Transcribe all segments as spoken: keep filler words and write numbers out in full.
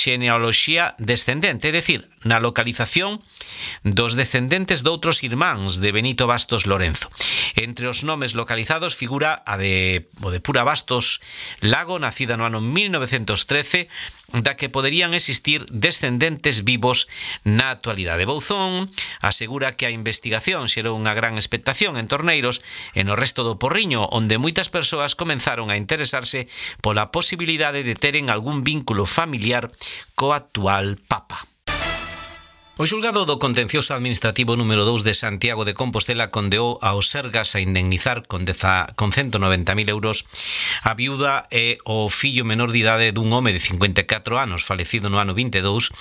xenealoxía descendente, é dicir, na localización dos descendentes doutros irmáns de Benito Bastos Lorenzo. Entre os nomes localizados figura a de, o de Pura Bastos Lago, nacida no ano mil novecentos trece, da que poderían existir descendentes vivos na actualidade. Bouzón asegura que a investigación xerou unha gran expectación en Torneiros e no resto do Porriño, onde moitas persoas comenzaron a interesarse pola posibilidade de teren algún vínculo familiar co actual Papa. O xulgado do contencioso administrativo número dous de Santiago de Compostela condeou aos Sergas a indemnizar con, deza, con ciento noventa mil euros a viuda e o fillo menor de idade dun home de cincuenta e catro anos falecido no ano vinte e dous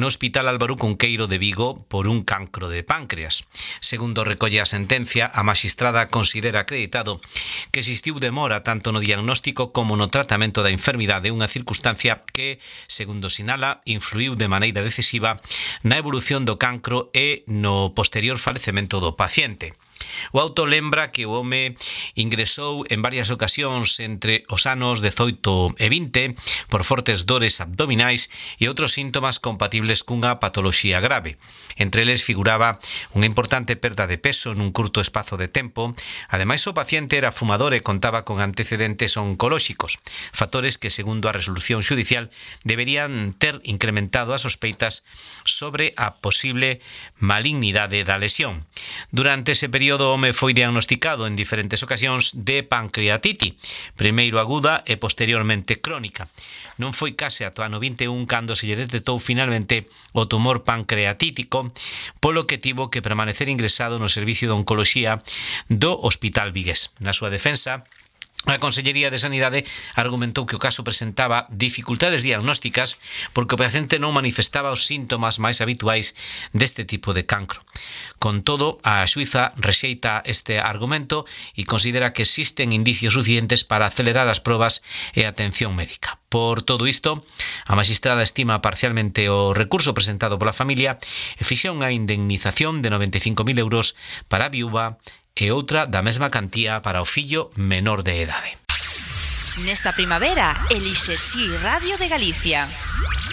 no Hospital Álvaro Cunqueiro de Vigo por un cancro de páncreas. Segundo recolle a sentencia, a maxistrada considera acreditado que existiu demora tanto no diagnóstico como no tratamento da enfermidade, unha circunstancia que, segundo sinala, influiu de maneira decisiva na evolución do cancro e no posterior falecemento do paciente. O auto lembra que o home ingresou en varias ocasións entre os anos dezoito e vinte por fortes dores abdominais e outros síntomas compatibles cunha patoloxía grave. Entre eles figuraba unha importante perda de peso nun curto espazo de tempo. Ademais, o paciente era fumador e contaba con antecedentes oncolóxicos, factores que, segundo a resolución xudicial, deberían ter incrementado as sospeitas sobre a posible malignidade da lesión. Durante ese período, o home foi diagnosticado en diferentes ocasións de pancreatite, primeiro aguda e posteriormente crónica. Non foi case ata o ano vinte e un cando se lle detectou finalmente o tumor pancreatítico, polo que tivo que permanecer ingresado no servicio de oncoloxía do Hospital Vigués. Na súa defensa, a Consellería de Sanidade argumentou que o caso presentaba dificultades diagnósticas porque o paciente non manifestaba os síntomas máis habituais deste tipo de cancro. Con todo, a xuíza rexeita este argumento e considera que existen indicios suficientes para acelerar as probas e a atención médica. Por todo isto, a maxistrada estima parcialmente o recurso presentado pola familia e fixa unha indemnización de noventa e cinco mil euros para a viúva e outra da mesma cantía para o fillo menor de idade. Nesta primavera, elixe Si Radio de Galicia.